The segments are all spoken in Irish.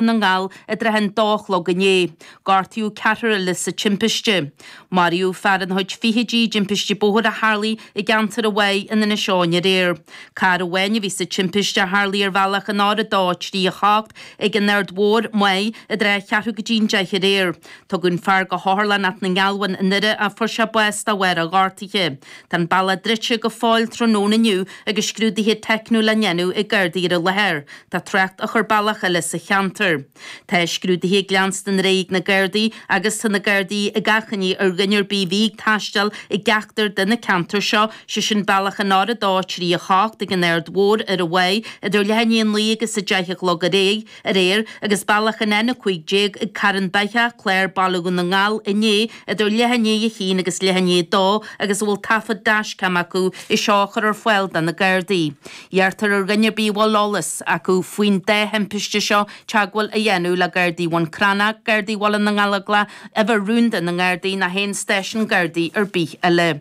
na nGall i dtrátha an dó a chlog inné. Gortaíodh ceathrar eile sa timpiste. Maraíodh fear ina chuid fichidí i dtimpiste bóthair a tharlaigh i gceantar an Mhaigh in Inis Eoghain aréir. Carr amháin a bhí sa timpiste a tharlaigh ar bhealach an R2 3 8 ag an Aird Mhór, Maigh, i dtrátha cheathrú go dtí an deich aréir. Tugadh an fear go hOtharlann Ath na nGealbhan i nDoire ach fuair sé bás de bharr a ghortaithe. Tá an bealach druidte go fóill tráthnóna inniu agus scrúduithe teicniúil á ndéanamh ag Gardaí ar an láthair. Tá trácht á chur bealach eile sa cheantar. Tá scrúduithe ag leanstan ar aghaidh ag na Gardaí agus tá na Gardaí ag achainí ar dhuine ar bith a bhí ag taisteal i gceachtar de na ceantair seo, sé sin bealach an R2 3 8 ag an Aird Mhór ar an Mhaigh idir leath i ndiaidh a naoi agus a deich a chlog aréir agus bealach an N15 ag Carn Beithe, Clár Baile Dhún na nGall inné idir leath i ndiaidh a haon agus leath i ndiaidh a dó agus a bhfuil taifead dashcam acu é seo a chur ar fáil do na Gardaí. Iarrtar ar dhuine ar bith a bhfuil eolas acu faoin dá thimpiste seo teagmháil a dhéanamh le Gardaí Bhun Cranncha, Gardaí Bhaile na nGallóglach, uimhir rúnda na nGardaí nó aon stáisiún Gardaí ar bith eile.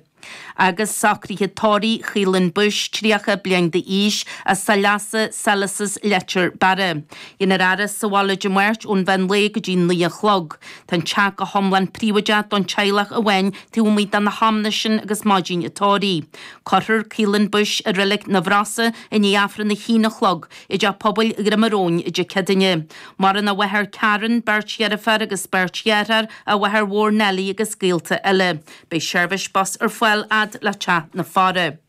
Agus socruithe tórraimh Chaolan Bush, 30 bliain d'aois, as Saileasa, Selous, Leitir Beara. Déanfar a fhaire sa bhaile Dé Máirt ón mheán lae go dtí 9 a chlog. Tá an teach go hiomlán príobháideach don teaghlach amháin taobh amuigh de na hamanna sin agus maidin an tórraimh. Cuirfear Caolan Bush i Reilig na bhFrosa i ndiaidh Aifreann a haon a chlog i dTeach Pobail Dhroim an Róin Dé Céadaoine. Maireann a mháthair Karen, beirt dheirféar agus beirt dheartháir, a mháthair mhór Nellie agus gaolta eile. Beidh seirbhís bus ar fáil fhad le teach na faire.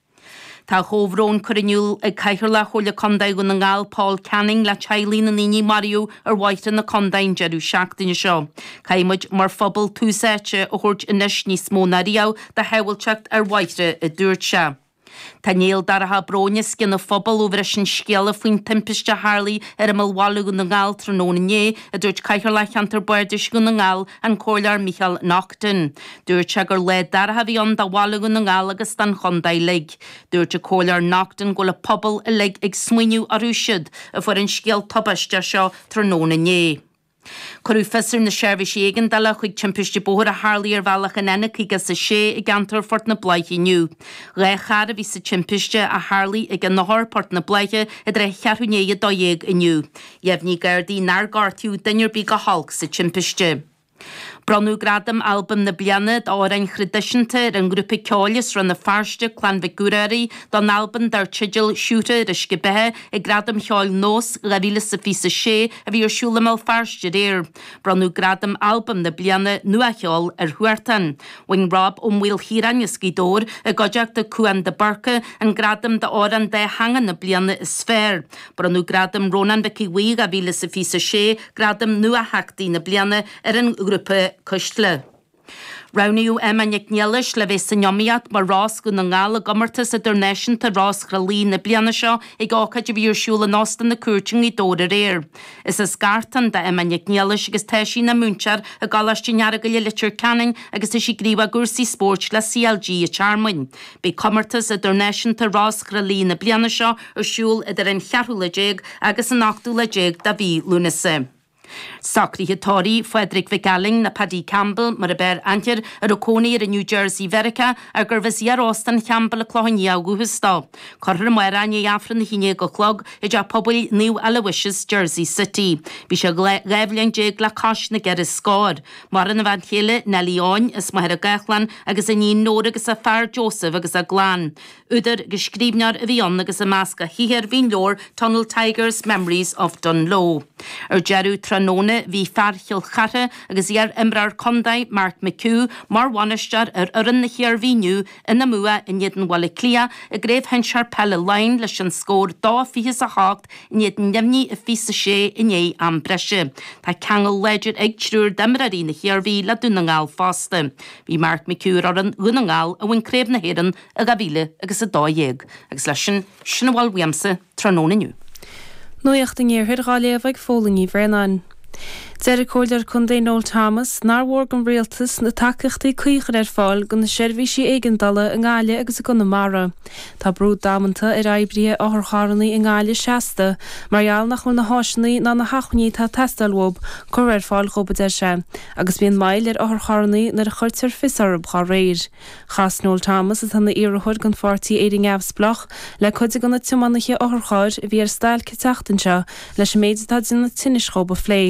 Tá a chomhbhrón curtha in iúl ag Cathaoirleach Chomhairle Contae Dhún na nGall Paul Canning le teaghlaigh na ndaoine a maraíodh ar bhóithre na contae an deireadh seachtaine seo. Caithfidh muid mar phobal tús áite a thabhairt anois níos mó ná riamh do shábháilteacht ar bhóithre, a dúirt sé. Tá néal dorcha bróin os cionn an phobail ó bhris an scéala faoin timpiste a tharlaigh ar imeall bhaile Dhún na nGall tráthnóna inné, a dúirt Cathaoirleach Cheantar Bardais Dhún na nGall, an Comhairleoir Micheál Naughton. Dúirt sé gur lá dorcha a bhí ann do bhaile Dhún na nGall agus don chontae uilig. Dúirt an Comhairleoir Naughton go bhfuil an pobal uilig ag smaoineamh orthu siúd a fuair an scéal tubaisteach seo tráthnóna inné. Cuireadh fios ar na seirbhísí éigeandála chuig timpiste bóthair a tharlaigh ar bhealach an N56 i gceantar Phort na Bláiche inniu. 2 charr a bhí sa timpiste a tharlaigh ag an Eochair, Port na Bláiche, i dtrátha cheathrú i ndiaidh 12 inniu. Dheimhnigh Gardaí nár gortaíodh duine ar bith go holc sa timpiste. Bronnadh Gradam Albam na Bliana d'Amhráin Thraidisiúnta ar an ngrúpa ceoil as Rann na Feirste, Clann Mhic Ruairí, don albam dar teideal Siúcra ar Uisce Beatha ag Gradaim Cheoil Nós 2026 a bhí ar siúl i mBéal Feirste aréir. Bronnadh Gradam Albam na Bliana, Nuacheol, ar Huartan. Bhain Rob Ó Maoilchiaráin as Gaoth Dobhair, i gcuideachta Cúán de Búrca, an gradam d'Amhrán Dátheangach na Bliana is Fearr. Bronnadh Gradam Rónán Mhic Aodha Bhuí 2026, Gradam Nuatheachtaí na Bliana, ar an ghrúpa Cuisle. Roghnaíodh Emma Nic Niallais le bheith san iomaíocht mar Rós Dhún na nGall i gComórtas Idirnáisiúnta Rós Thrá Lí na bliana seo ag ócáid a bhí ar siúl in Óstán na Cúirte i nGaoth Dobhair aréir. Is as Gartán do Emma Nic Niallais agus tá sí ina múinteoir i gColáiste an Earagail i Leitir Ceanainn agus tá sí gníomhach i gcúrsaí spóirt le CLG an Tearmainn. Beidh Comórtas Idirnáisiúnta Rós Thrá Lí na bliana seo ar siúl idir an cheathrú lá déag agus an ochtú lá déag de mhí Lúnasa. Socruithe tórraimh Phádraig Mhic Ailín nó Paddy Campbell mar ab fhearr aithne air, a raibh cónaí air i New Jersey Mheiriceá ach gurbh as iar-óstán Champbell an Clochán Liath ó dhúchas dó. Cuirfear amárach i ndiaidh Aifreann 11 a chlog i dTeach Pobail Naomh Aloysius, Jersey City. Bhí sé 12 bhliain le cois na gceithre scór. Maireann a bhean chéile, Nellie Eoin, as Machaire Gathlán, agus a iníon Nóra agus a fear Joseph agus a gclann. Údar agus scríbhneoir a bhí ann agus i measc a shaothair bhí an leabhar Tunnel Tigers, Memories of Dungloe. Ar deireadh tráthnóna bhí fear Chill Chartha agus iar-imreoir contae Mark McHugh mar bhainisteoir ar fhoireann na hIarmhí inniu ina mbua in éadan Bhaile Átha Cliath i gCraobh Shinsear Peile Laighean leis an scór 2-28 in éadan neamhní 26 i ndiaidh am breise. Tá ceangal láidir ag triúr d'imreoirí na hIarmhí le Dún na nGall fosta. Bhí Mark McHugh ar fhoireann Dhún na nGall a bhain Craobh na hÉireann i 2012 agus leis sin, sin a bhfuil uaimse tráthnóna inniu. Nuacht an Iarthair dhá léamh ag Fódhla Ní Bhraonáin. Deir an Comhairleoir Contae Noel Thomas nár mhór don Rialtas na tacaíochtaí cuí a chur ar fáil do na seirbhísí éigeandála i nGaillimh agus i gConamara. Tá brú damanta ar oibrithe otharcharranna i nGaillimh seasta mar gheall nach bhfuil na háiseanna ná na hacmhainní atá ag teastáil uathu curtha ar fáil dhóibh, a deir sé, agus bíonn moill ar otharcharranna nuair a chuirtear fios orthu dhá réir. Chas Noel Thomas, atá ina iarrthóir don pháirtí Éire Neamhspleách, le cuid de na tiománaithe otharchairr a bhí ar stailc an tseachtain seo leis an méid atá ag déanamh tinnis dhóibh a phlé.